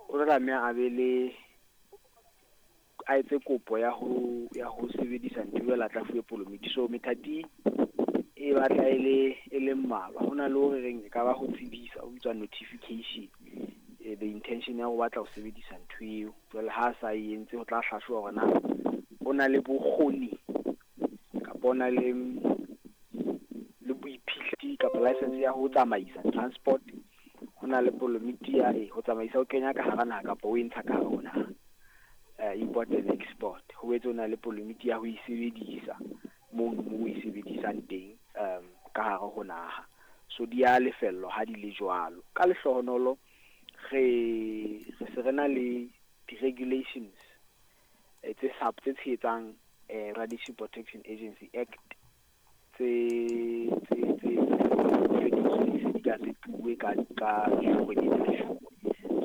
O tla tlameha a be le a etse kopo ya ho sebedisa ntho, jwale a tla fuwe polomiti. So methati e batla e le mmalwa. Ho na le hore reng e ka ba ho tsebisa, o bitswa notification, the intention ya ho batla ho sebedisa ntho eo. Jwale ha a sa e entse, ho tla hlahloba hore na o na le bokgoni kapa o na le boiphihlelo kapa license ya ho tsamaisa transport. Ho na le polomiti ya ho tsamaisa, o kenya ka hara naha kapa o e ntsha ka hare ho naha, import and export. Ho boetse o na le polomiti ya ho e sebedisa mono mo o e sebedisang teng ka hare ho naha. So di a lefellwa ha di le jwalo. Ka lehlohonolo re se re na le di-regulations tse tshehetsang Radiation Protection Agency Act tse se di ka tse ka kgwedi tsa June.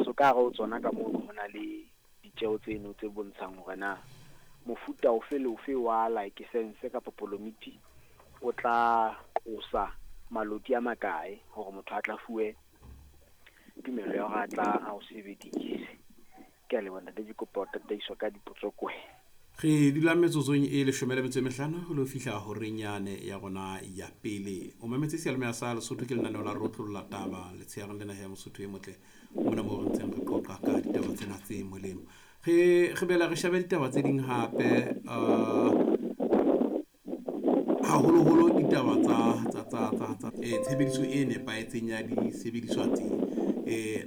So ka hare ho tsona ka mono ho na le ditjeho tseno tse bontshang hore na mofuta ofe le ofe wa license kapa polomiti o tla qosa maloti a makae hore motho a tla fuwe tumelo ya hore a tla a o sebedise. Ke a leboha, ntate. Ke kopa ho tataiswa ka dipotso kwe. Re dula metsotsong e 15 ho lo fihla horeng yane ya rona ya pele. O mametse seyalemoya sa Lesotho, ke lenaneo la Rotlolla Taba letshehareng lena ya Mosotho e motle, mona moo re ntseng re qoqa ka ditaba tsena tse molemo. Re bela re shebe ditaba tse ding hape, haholoholo ditaba tsa tshebediso e nepahetseng ya disebediswa tse.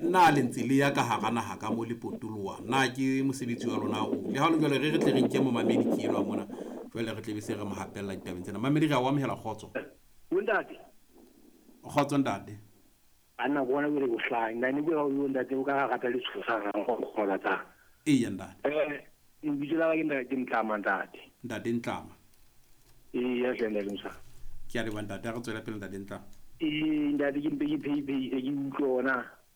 Nna le ntse le ya ka hara naha ka mo le potoloha, na ke mosebetsi wa lona o le ha le jwale? Re tle re nke momamedi ke elwa mona jwale, re tle be se re mo hapella ditabeng tsena. Mamedi, re a o amohela, kgotso. Bontate. Kgotso, ntate. Anna bona bole bohlang nna ne ke ba o ntate o ka rata le tshosa go ratang. Eya, ntate. Lebitso la ka ke ntate, ke Ntlama, ntate. Ntate Ntlama. Ee, ya hle, ntate Mosa. Ke a leboha, ntate. A re tswela pele, ntate Ntlama. Ee, ntate, ke mpe ke pheiphei ke utlwe ona.